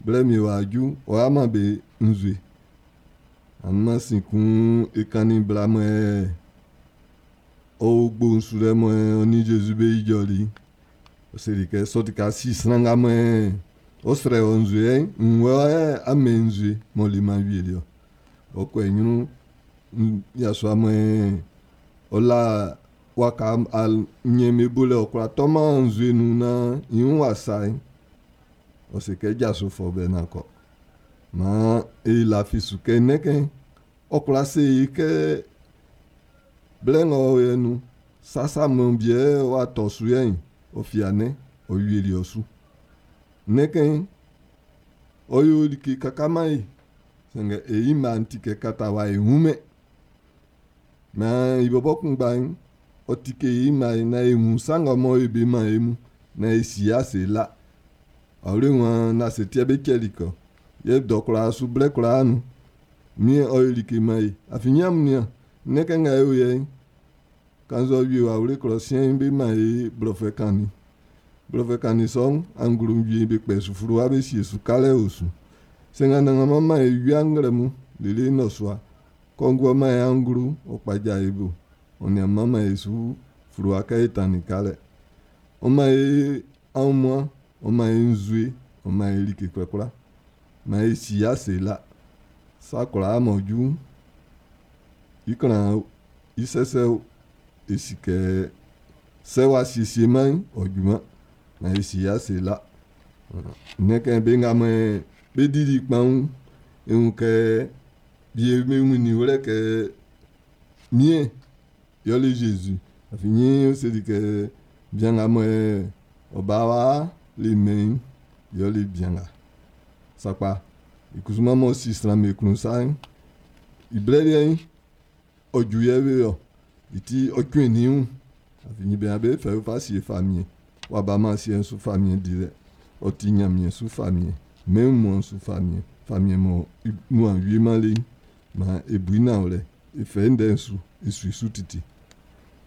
Blɛ mie w'a ju, ɔ'a man be nzue. Anunman sin kun e kannin bla mɔ ɔ o gbo'n su lɛ mɔ ɔ nin Zezi be ijɔli'n. Ɔ seli kɛ sɔ ti ka si sran nga mɔ ɔ srɛ wɔ nzue'n, nn wɔ a mɛn nzue m'ɔ leman awieliɛ. Ɔ kɔ i ɲrun yasua mɔ ɔ la waka nɲɛ'n be bo lɛ ɔ kwlá tɔman nzue nun naan i wun w'a sa i'n, ɔ se kɛ jaso fɔ bɛ naan kɔ. Maan e lafi su kɛ nnɛn ɔ kwla se e kɛ blɛ ng'ɔ o yɛ nun'n, sasa mɔ biɛ w'a tɔ su yɛ'n, ɔ fia nɛn, ɔ wieli ɔ su. Nnɛn ɔ yo like kaka man e. Sanngɛ e yi mma'n ti kɛ kata wa e wun mɛn. Maan i bɔbɔ kunngba'n, ɔ tike i mma'n naan e wun sa nga mɔ e be man e mu, naan e si ase la. Awle wan na se tiɛ be cɛli kɔ. Yɛ dɔ kwlaa su blɛ kwlaa nun. Miɛn ɔ yo like man e. Afin nyam nian, nnɛn kɛ nga e o yɛ'n, kannzɛ ɔ wie wawle klɔ siɛn'n be man e blɔfuɛ kannin. Blɔfuɛ kannin sɔ'n, anglo wie be kpɛ su fluwa be sie su kalɛ o su. Sɛ nga nanganman man e wia nglɛmun lele nnɔsua, kɔnguɛ man e anglo ɔ kpaja e bo. Ɔ nian man e su fluwa kɛ e tannin kalɛ. Ɔ man e aunmuan, ɔ man e nzue, ɔ man e like kwlakwla. Man e si ase la. Sa kwlaa m'ɔ ju'n, i klan i sɛsɛ o, e si kɛ sɛ w'a siesie man'n, ɔ juman. Man e si ase la. Nnɛn kɛ be nga mɔ be dili kpanwun, e wun kɛ bie be wunnin wlɛ kɛ miɛn yɔle Zezi. Afin nyin seli kɛ bian nga mɔ ɔ ba wa le mɛn'n, yɔle bian nga. Sakpa, i kusuman m'ɔ si sran me klun sa'n, i blɛ liɛ'n, ɔ ju yɛ be ɔ. I ti ɔ cuɛn nin wun. Afin nyin be be fɛ fa sie famiɛn. Wa ba man siɛ'n su famiɛn dilɛ. Ɔ ti Ɲanmiɛn su famiɛn. Mɛn wunmuan'n su famiɛn. Famiɛn mɔ i nuan wieman le'n. Maan e bu i nanwlɛ. E fɛ i ndɛ'n su. E su i su titi.